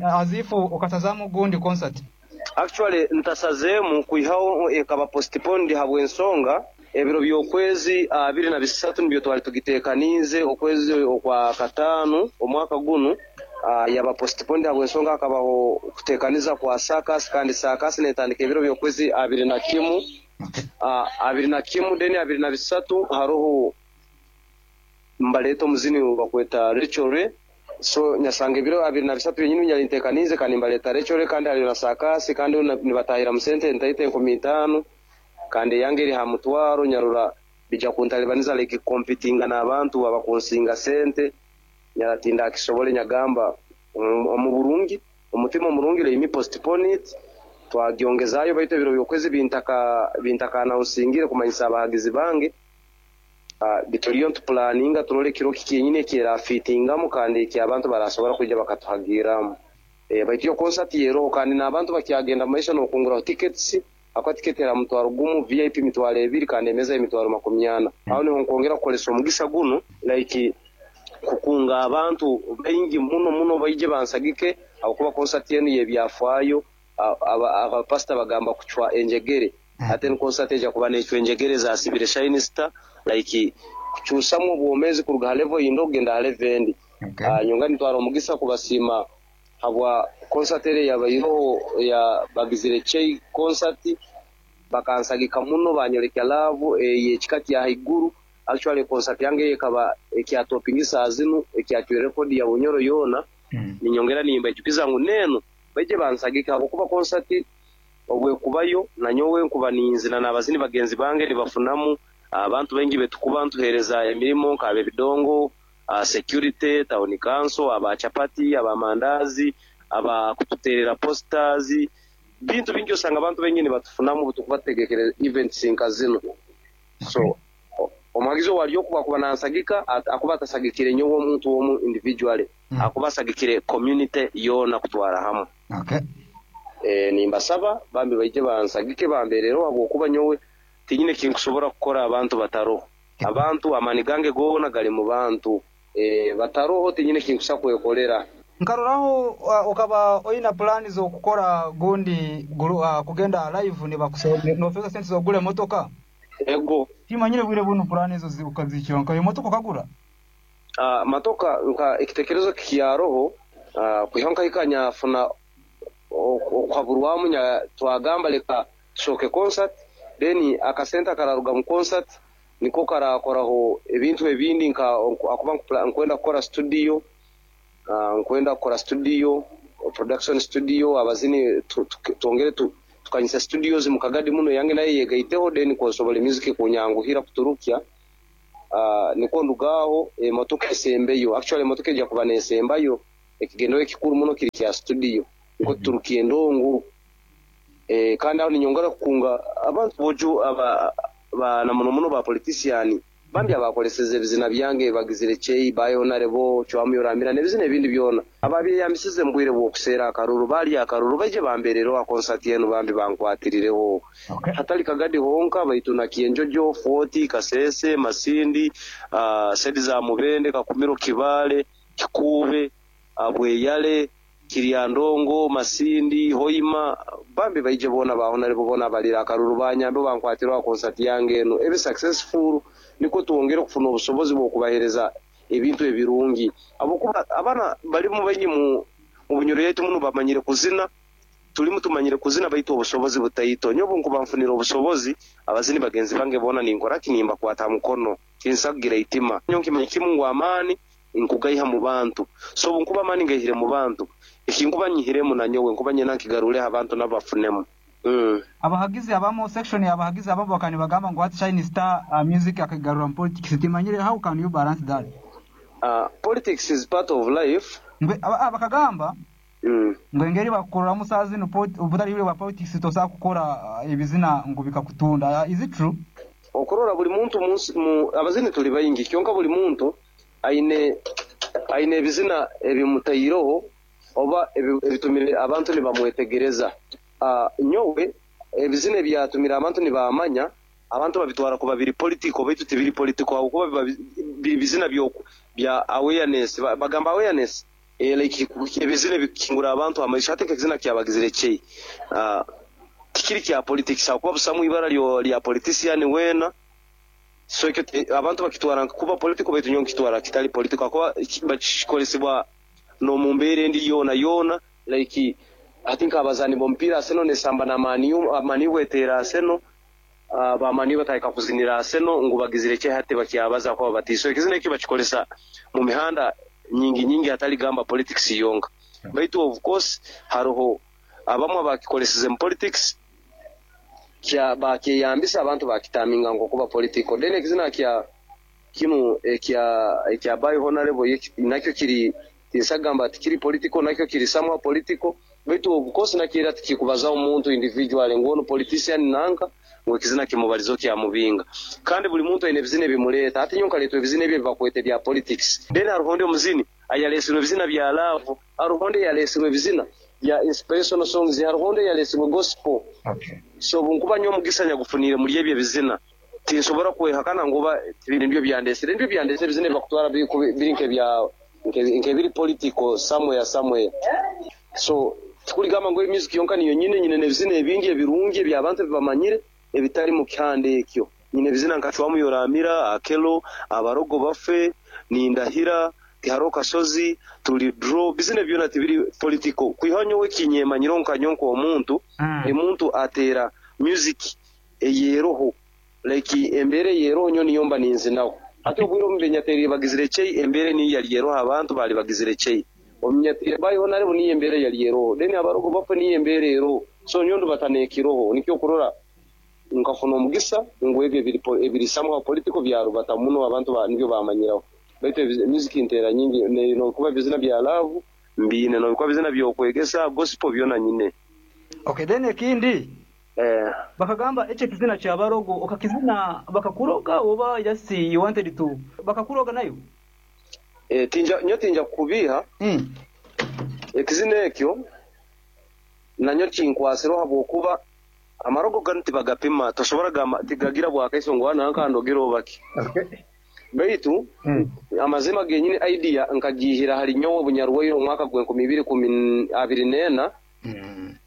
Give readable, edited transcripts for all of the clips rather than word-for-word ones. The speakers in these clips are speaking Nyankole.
As if okasazaamu gundi concert. Actually ntasazeemu kwihaho ekaba postponed habw'ensonga ebiro by'okwezi 23 nibyo twali tugitekaniize okwezi okwa kataano omwaka gunu yaba postponed habw'ensonga hakabaho kutekaniza kwa circus kandi circus netandika ebiro by'okwezi 21 21 then 23 haroho Nibaleeta omuzini ou bakweta Rachel Ray. So nyasanga ebiro 23 byenyini bi nyali nteekaniize kandi nibaleeta Rachel Ray kandi hariyo na saakaasi kandi nibatahiramu sente entaito 5000 kandi eyange eri aha mutwaro nyarora bija kuntalibaniza like kukompitinga n'abantu abakunsinga sente nyarora tindakisobole nyagamba omu burungi omutima omurungi let me postpone it twagyongezayo baitu ebiro by'okwezi bintaka announce-ingire kumanyisa abahagizi bange. Turiyo nitupulaninga turore ekiro ki kyenyini eki eraafiitingamu kandi eki abantu baraasobora kwija bakatuhagirramu. Baitu yo konsati eroho kandi n'abantu bakyagenda mu maisho n'okunguraho tiketisi ahakuba tiketi eri aha mutwaro gumu, VIP mitwaro ebiri kandi emeeza y'emitwaro 40. Aho niho nkwongera kukoresa omugisa gunu like kukunga abantu baingi muno muno baije bansagike ahabw'okuba konsati enu y'ebyafaayo. Abapasita bagamba kucwa enjegere hati enu concert eja kuba necwa enjegere ezasibire Shine Star like kucusamu obwomezi kuruga ha level yindi okugenda ha level endi. Nyonga nintwara omugisa kubasiima habwa concert eri eyabaireho eya bagizire Chei concert bakansagika muno banyorekya love eyekika kya haiguru actually concert yange eyo ekaba ekyatopinga esaaha zinu ekyacwire record ya Bunyoro yoona ninyongera nimbaijukiza ngu nenu Baije bansagike ahabw'okuba konsati obu ekubayo, nanyowe nkuba ninzina n'abazini bagenzi bange nibafunamu. Abantu baingi betukuba ntuheereza emirimo nk'ab'ebidongo, security, tawuni kanso, aba chapati, aba mandazi, aba kututeerera posters, bintu bingi osanga abantu baingi nibatufunamu obutukuba tutegekere events nka zinu. So omuhagizi owari oku bwakuba nansagika akuba atasagikire nyowe omuntu omu individually. Ahakuba asagikire community yoona kutwara hamwe. Nimbasaba bambi baije bansagike bambeerereho ahabw'okuba nyowe tinyine eki nkusobora kukora abantu bataroho. Abantu, amaani gange goona gari mu bantu. Bataroho tinyine eki nkusa kwekorera. Nkaroraho okaba oine pulaani z'okukora gundi kugenda live nibafeeza sente z'okugura emotoka? Ego. Timanyire bwire bunu pulaani ezo okazihikiraho nka emotoka okagura? Matoka nka ekitekerezo kikyaroho kwihaho nkahika nyafuna okuhaburwamu twagamba leka tushoke concert then akasente akararuga mu concert niko karakoraho ebintu ebindi nka ahakuba nkwenda kukora studio, nkwenda kukora studio, production studio abazini twongere tukanyise studios mu Kagadi muno eyange nayo eyegaiteho then nsobole music kunyanguhira kuturukya. Nikwo nduga aho emotoka esembeyo. Actually emotoka eija kuba nesembayo. Ekigendererwa ekikuru muno kiri kya studio nikwo tuturuka endongo. Kandi aho ninyongera kukunga abantu bojo aba na muno muno ba politician bambi abakoreseze ebizina byange bagizire chei, bae honarebo, cwamu yorambira nebizina ebindi byona. Ababyeyambisize mu bwire bw'okuseera akaruru baalya akaruru baije bambeerereho aha konsati enu bambi bankwatirireho. Hatali Kagadi honka baitu na Kyenjojo, Fort, Kasese, Masindi, sedi za Mubende, Kakumiro, Kibaale, Kikuube, Bweyale, Kiryandongo, Masindi, Hoima bambi baije boona ba Honarebo boona abaliire akaruru banyambeho bankwatireho aha konsati yange enu ebe successful nikwo twongere okufuna obusobozi bw'okubahereza ebintu ebirungi ahabw'okuba abaana barimu baingi mu Bunyoro yaitu muno bamanyire kuzina, turimu tumanyire kuzina baitu obusobozi butaito. Nyowe obu nkuba nfunire obusobozi, abazini bagenzi bange boona ninkora ki? Nimbakwata ha mukono. Tinsa kugira eitima. Nyowe nkimanya kimu ngu amaani nkugaiha mu bantu. So obu nkuba amaani ngaihire mu bantu, eki nkuba nyihiremu nanyowe nkuba nyenda nkigarureho abantu nabo bafunemu. Abahagizi abamu, section y'abahagizi abamu bakaba nibagamba ngu hati Shine Star music akagigarura mu politics timanyire how can you balance that? Politics is part of life. Ngu bakagamba ngu engeri bakukoreramu saaha zinu obutari bwa politics tosobola kukora ebizina ngu bikakutunda is it true? Okurora buri muntu munsi abazini turi baingi kyonka buri muntu aine aine ebizina ebimutaireho oba ebitumire abantu nibamwetegereza. Nyowe ebizina ebyatumire abantu nibamanya, abantu babitwara kuba biri political baitu tibiri political ahabw'okuba biba biri bizina bya awareness. Bagamba awareness? Like ebizina ebikukingura abantu amaisho hati nk'ekizina kya Bagizire Chei tikiri kya politics ahakuba busamu ibara rya politician weena so ekyo abantu bakitwara nka kuba political baitu nyowe nkitwara kitari political ahakuba bakikoresibwa n'omu mbeera endi yoona yoona like hati nk'abazaani b'omupiira Arsenal nesamba na Man U, Man U bweteera Arsenal Ba Man U batandika kuzinira Arsenal ngu bagizire ki hati bakyabaza kuba bati so ekizina ekyo bakikoresa mu mihanda nyingi nyingi hatari gamba politics yonka baitu of course haroho abamwe abakikoresize mu politics kya bakyeyambisa abantu bakitaminga ngu okuba political then ekizina kya kinu ekya ekya by honorable ye nakyo kiri Tinsagamba tikiri political nakyo kiri somehow political baitu of course nakyo era tikikubazaho muntu individually ngu onu politician nanka ngu ekizina kimubarizeho kyamubinga. Kandi buri muntu aine ebizina ebimureeta. Hati nyowe nkareetwa ebizina ebi ebibakweta ebya politics. Then haruho ondi omuzini ayaresirwe ebizina bya love, haruho ondi eyaresirwe ebizina bya inspirational songs, haruho ondi eyaresirwe gospel. So obunkuba nyowe omugisa nyagufuniire muri ebyo ebizina tinsobora kwehakana ngu oba tibiri nibyo byandesire. Nibyo byandesire ebizina ebibakutwara biri nk'ebya nk'ebiri political somewhere somewhere. So tikurigamba ngu music yonka niyo nyine, nyine n'ebizina ebindi ebirungi eby'abantu ebi bamanyire ebitari mu kihanda ekyo. Nyine ebizina nka Cwamu Yoramira, Akello, Abarogo Bafe, Nindahira, Tihariho Kasozi, Turi Draw, bizina ebi byona tibiri political. Kwihaho nyowe ekinyemanyireho nka nyowe nk'omuntu, ndi muntu ateera music eyeroho. Like embeera eyeroho nyowe niyo mba ninzinaho. Hati obwire obu mbe bagizire chei embeera niyo yari eroho abantu bari bagizire chei. Omunyatiire bayiho narebu niyo embeera yari eroho. Then abarogo bafe niyo embeera eroho. So nyowe ndubata nekiroho nikyo okurora nkafuna omugisa ngu ebyo ebiri somehow political byarubata muno abantu nibyo bamanyiraho. Baitu music nteera nyingi nokuba ebizina bya love mbiine nobikuba ebizina byokwegesa gospel byona nyine. Okay then ekindi Bakagamba ekyo ekizina kya barogo okakizina bakakuroga oba just you wanted to bakakuroga nayo? Tinja nyowe tinja kukubiiha, ekizina ekyo nanyo kinkwasireho ahabw'okuba amarogo ganu tibagapima tosobora gamba tigagira bwakaiso ngu nanka andogere oba ki. Baitu amazima genyini idea nkagiihira ahari nyowe obunyarwaire omu mwaka gw'enkumi ibiri ikumi abiri n'ena.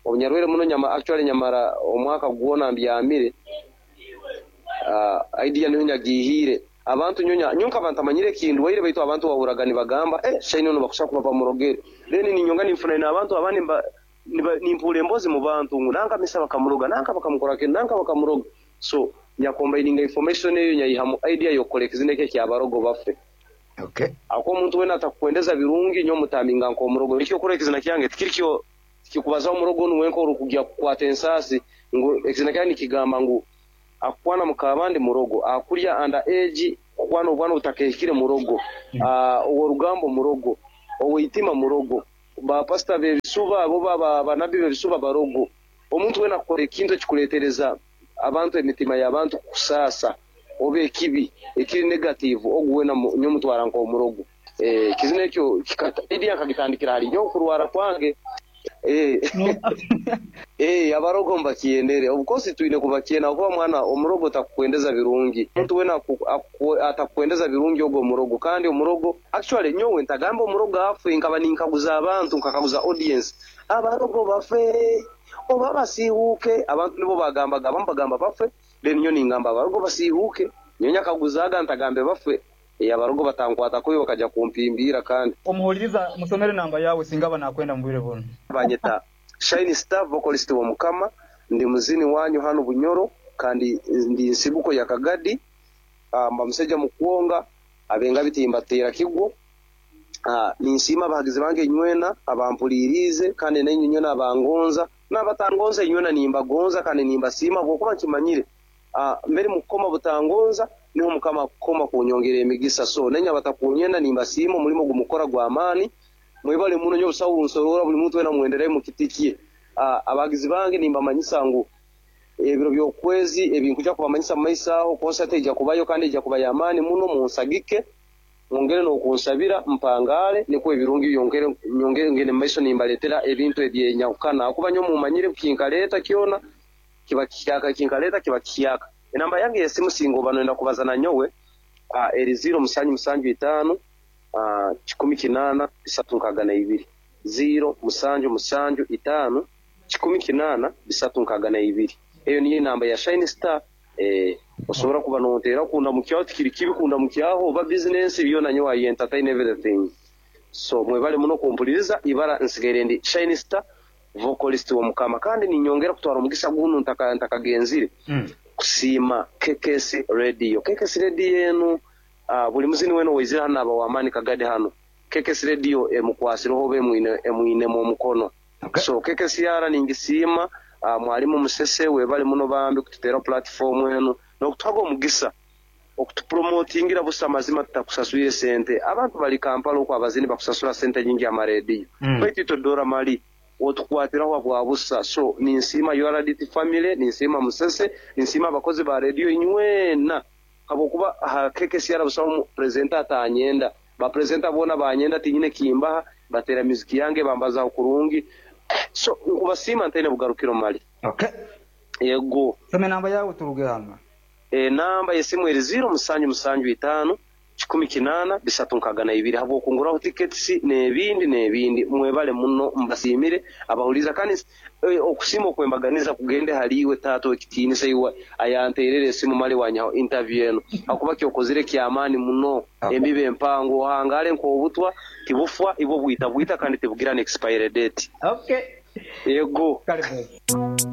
Obunyarwaire muno nyama actually nyamara omwaka gwona mbyamire idea niho nyagiihiire. Abantu nyowe nyowe nkaba ntamanyire ekindwaire baitu abantu wahurraga nibagamba eh Shine onu bakushaba kuba bamurogere. Then ninyonga ninfuna n'abantu abandi nimpuura emboozi mu bantu ngu nanka misa bakamuroga, nanka bakamukora kinu, nanka bakamuroga. So nyakombayininga information eyo nyayihamu idea y'okukora ekizina eki ekya Abarogo Bafe. Ahakuba omuntu weena atakukwendeza birungi, nyowe mutaminga nk'omurogo. Nikyo okurora ekizina kyange tikiri kyo, tikikubazaho omurogo onu wenka orikugya kukwata ensaasi, ngu ekizina kyange nikigamba ngu akukwana mukaabandi murogo, akurya under age, kukwana obwana obutakehikire murogo, ow'orugambo murogo, ow'eitima murogo, ba pasita b'ebisuba oba ba nabbi b'ebisuba barogo. Omuntu weena akukora ekintu ekikureetereza abantu emitima y'abantu kukusaasa oba ekibi ekiri negative ogu weena nyowe mutwara nk'omurogo. Ekizina ekyo idea nkagitandikira ahari nyowe okurwara kwange. Abarogo mbakyendere. Of course twine kubakyenda ahabw'okuba mwana omurogo takukwendeza birungi. Omuntu weena atakukwendeza birungi ogwo murogo kandi omurogo actually nyowe ntagambe omurogo afe nkaba ninkaguza abantu nkakaguza audience abarogo bafe? Oba basiihuuke? Abantu nibo baagambaga, abamu bagamba bafe, then nyowe ningamba abarogo basiihuuke. Nyowe nyakaguzaaga ntagambe bafe, ee abarogo batankwata kubi bakaja kumpimbiira kandi. Omuhuririza musomere enamba yaawe singa aba naakwenda mu bwire bunu. Banyeta Shine Star Vocalist w'Omukama, ndi muzini wanyu hanu Bunyoro kandi ndi nsibuko ya Kagadi, mba musaija mukwonga, ab'engabi timbateera kigwo. Ninsiima abahagizi bange inywena abampuriiriize kandi nainywe inywena abangonza n'abatangonza inywena nimbagonza kandi nimbasiima habwokuba nkimanyire mbere mukukoma butangonza niho Mukama akukoma kunyongera emigisa. So nainywe abatakunyenda nimbasiima omurimo ogu mukukora gw'amaani. Mwebale muno nyowe busaho bunsoroora buli muntu wena mwenderayo mu kiti kye. Abahagizi bange nimbamanyisa ngu ebiro by'okwezi ebi nkuja kubamanyisa mu maiso aho konsati eija kubayo kandi eija kuba y'amaani muno munsagike. Mwongere n'okunsabira mpangaale, nikwo ebirungi byongere nyongere ngende mu maiso nimbaletera ebintu eby'enyahukana, ahakuba nyowe mumanyire kinkaleeta kyona kiba kihyaka, ekinkaleeta kiba kihyaka. Enamba yange ey'esimu singa oba noyenda kubaza na nyowe, eri ziiro musanju musanju itaano, 18 362. Ziiro musanju musanju itaano 108 362. Eyo niyo enamba ya Shine Star. Eeh osobora kuba nonteera kundamukyaho tikiri kibi kundamukyaho oba bizinensi byona nyowe I entertain everything. So mwebale muno kumpuliriza ibara nsigaire ndi Shine Star vocalist w'Omukama kandi ninyongera kutwara omugisa gunu ntakagenzire kusiima KKS Radio. KKS Radio enu buli muzini wena owaizire hanu naba w'amaani kagadi hanu. KKS Radio emukwasireho oba emwinemu omukono. So KKCR ningisiima Mwalimu Musese webale muno bambi kututeeraho platform enu n'okutuhaga omugisa okutupromotingira busa amazima tutakusaswire sente. Abantu bali Kampala okwo abazini bakusasura sente nyingi aha marediyo baitu itwe dora mali otukwatiraho habwa busa. So ninsiima URDT family, ninsiima Musese, ninsiima abakozi ba rediyo inywena habwokuba aha KKCR busaho presenter atanyenda. Ba presenter boona banyenda tinyine kimbaha, bateera music yange bambazaho kurungi. So nkubasiima ntaine bugarukiro mali. Okay. Yego. Soma enamba yaawe turuge hanu. Enamba y'esimu eri ziiro musanju musanju itaano 108 362 habw'okunguraho tickets n'ebindi n'ebindi. Mwebale muno mbasiimire abahuliiriza kandi okusiima okwembaganiza kugende hali iwe taata ow'ekitiinisa iwe ayanteerera esimu mali wanyihaho interview enu habwokuba ky'okozire ky'amaani muno. Embibo empango ohangaale nk'obutwa tibufwa ibwo bwita bwita kandi tibugira n'expiry date. Okay. Yego. Kale boss.